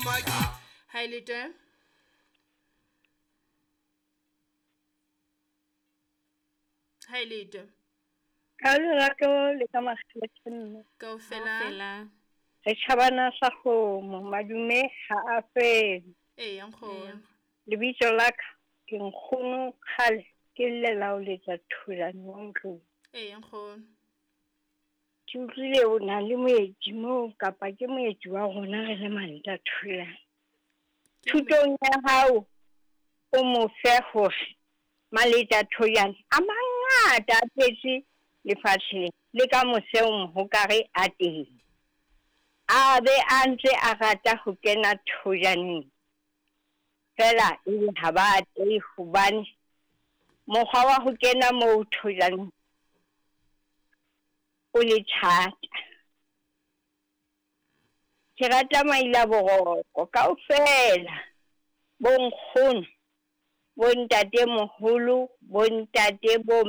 Ha e le twe. Ha e le twe. Ka lerato le ka makgethe mme. Kaofela. Kaofela. Re tjhabana sa kgomo, madume ha a fele. Eya nkgono. Lebitso la ka ke nkgono kgale ke llela ho letsa thulane wa ntlong. Eya nkgono. Ke utlwile o na le moeti moo kapa ke moeti wa rona re le Manta Thulane. Thutong ya hao o mo fe hore Maleta Thoyane a mangata a tletse lefatsheng le ka moseng ho kare a teng. A be a ntse a rata ho kena thojaneng. Fela ebe ha ba atlehe hobane mokgwa wa ho kena moo thojaneng o le thata. Ke rata maila boroko kaofela, bo nkgono, bo ntatemoholo, bo ntate, bo